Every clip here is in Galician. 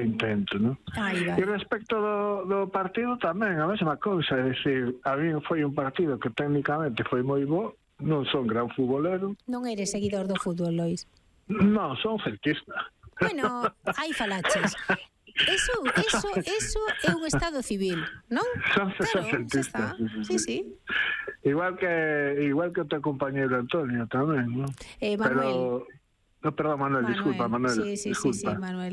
intento, non? E respecto do partido tamén, a mesma cousa, é dicir, a mí foi un partido que técnicamente foi moi bo, non son gran futbolero. Non eres seguidor do fútbol, Lois? Non, son celtista. Bueno, aí falaches. Eso é un estado civil, non? Son celtista. Sí. Igual que o teu compañeiro Antonio tamén, non? Manuel. No, perdón, Manuel, disculpa, Manuel. Sí,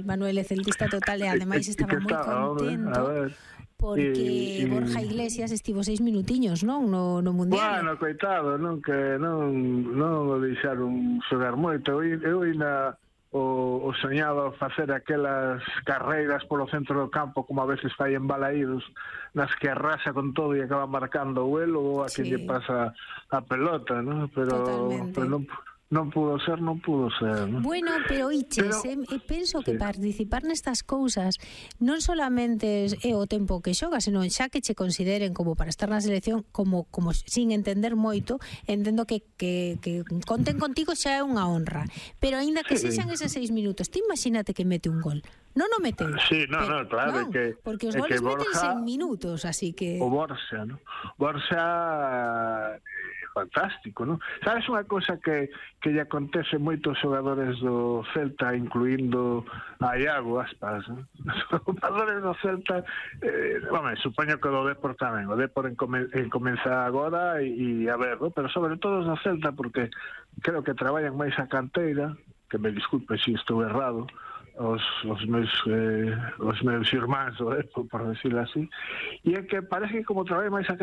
Manuel é celtista total e ademais estaba moi contento porque Borja Iglesias estivo 6 minutiños, non? No Mundial. Bueno, coitado, non que non o deixaron xogar moito. Eu ainda o soñaba facer aquelas carreiras polo centro do campo como a veces fai en Balaídos, nas que arrasa con todo e acaba marcando o elo ou a que lle pasa a pelota, non? Pero non pudo ser, non. Bueno, pero Iches, penso que participar nestas cousas non solamente é o tempo que xogas, senón xa que che consideren como para estar na selección, como sin entender moito, entendo que conten contigo xa é unha honra, pero aínda que sexan eses 6 minutos, ti imagínate que mete un gol. Non o meteu. Sí, claro, non, porque os goles metense en minutos, así que... O Borja, non? Borja fantástico, non? Sabes unha cosa que lle acontece moitos xogadores do Celta, incluindo a Iago Aspas, non? Os xogadores do Celta, supoño que do Depor tamén, o Depor comeza agora e a ver, non? Pero sobre todo os do Celta, porque creo que traballan máis a canteira, que me disculpe se estou errado, os meus irmáns do Depor, por decirlo así, e é que parece que como traballan máis a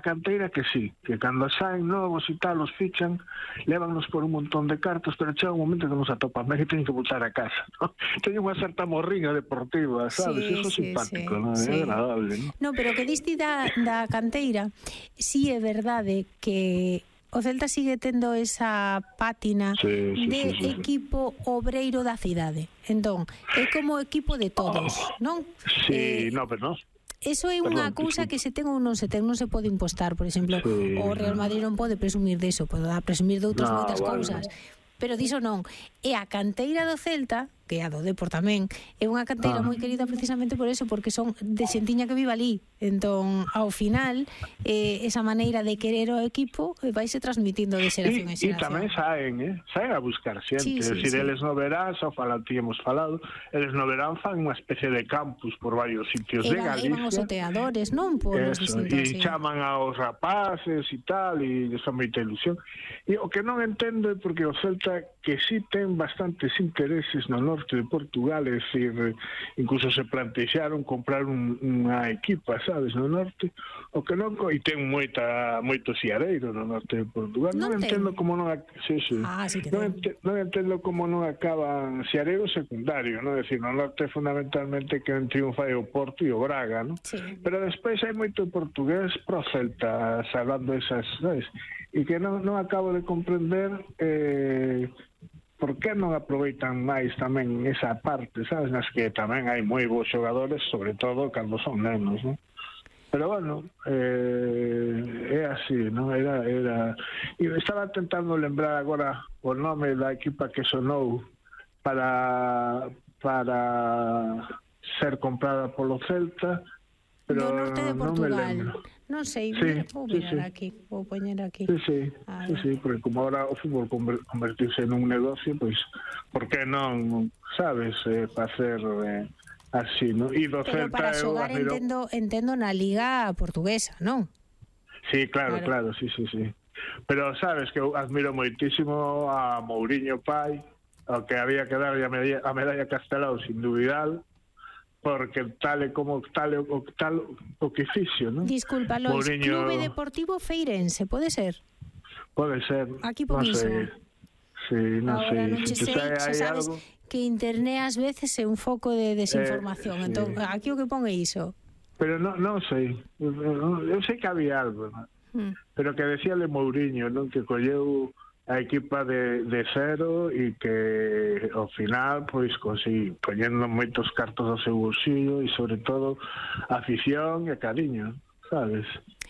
canteira que sí, que cando saen novos e tal, os fichan, lévannos por un montón de cartos, pero chega un momento que nos atopan, que teñen que voltar a casa, ¿no? Teñen unha certa morriña deportiva, sabes? Eso é simpático, ¿no? É agradable, ¿no? No, pero que diste da canteira, sí é verdade que o Celta sigue tendo esa pátina de equipo obreiro da cidade. Entón, é como equipo de todos, non? Sí, pero non. Eso é unha cousa que se ten ou non se ten, non se pode impostar. Por exemplo, o Real Madrid non pode presumir deso, pode presumir de outras moitas cousas. Pero diso non. E a canteira do Celta, que a do Depor tamén, é unha canteira moi querida precisamente por eso, porque son de xentiña que vive ali. Entón, ao final, esa maneira de querer o equipo vaise transmitindo de xeración en xeración. E tamén saen a buscar xente. Eles no verán, xa tíamos falado, eles no verán fan unha especie de campus por varios sitios de Galicia. Evan os oteadores, non? Por os distintos. E chaman aos rapaces e tal, e son moita ilusión. E o que non entendo é porque o Celta, que sí ten bastantes intereses no norte de Portugal, é dicir, incluso se plantexaron comprar unha equipa, sabes, no norte, o que non, e ten moito siareiro no norte de Portugal. Non entendo como non non entendo como non acaban siareiro secundario, non? É dicir, no norte fundamentalmente que triunfa é o Porto e o Braga, non? Pero despois hai moito portugués pro Celta, salvando esas, sabes? E que non acabo de comprender por que non aproveitan máis tamén esa parte, sabes, nas que tamén hai moi bons xogadores, sobre todo cando son nenos, non? Pero bueno, é así, non? Era... E estaba tentando lembrar agora o nome da equipa que sonou para ser comprada polo Celta, pero do norte de Portugal. Non sei, vou poñer aquí. Sí, porque como agora o fútbol convertirse nun negocio, pois, por que non, sabes, facer así, non? Pero para xogar entendo na Liga Portuguesa, non? Sí, claro, sí. Pero sabes que eu admiro moitísimo a Mourinho pai, ao que había que darlle a medalla Castelao sin dubidar, porque tal o que fixo, non? Disculpa, Lois, Mourinho... Clube Deportivo Feirense, pode ser? Pode ser. Aquí por iso. Sí, non sei. Non sei, xa sabes que internet ás veces é un foco de desinformación, entón aquí o que pon é iso. Pero non sei. Eu sei que había algo, non? Pero que decíale Mourinho, non? Que colleu a equipa de cero e que ao final pois poñendo moitos cartos do seu bolsillo e sobre todo afición e cariño, sabes?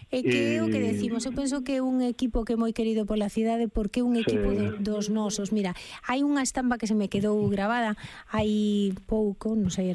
É que é o que decimos, eu penso que é un equipo que é moi querido pola cidade porque é un equipo dos nosos. Mira, hai unha estampa que se me quedou gravada hai pouco, non sei,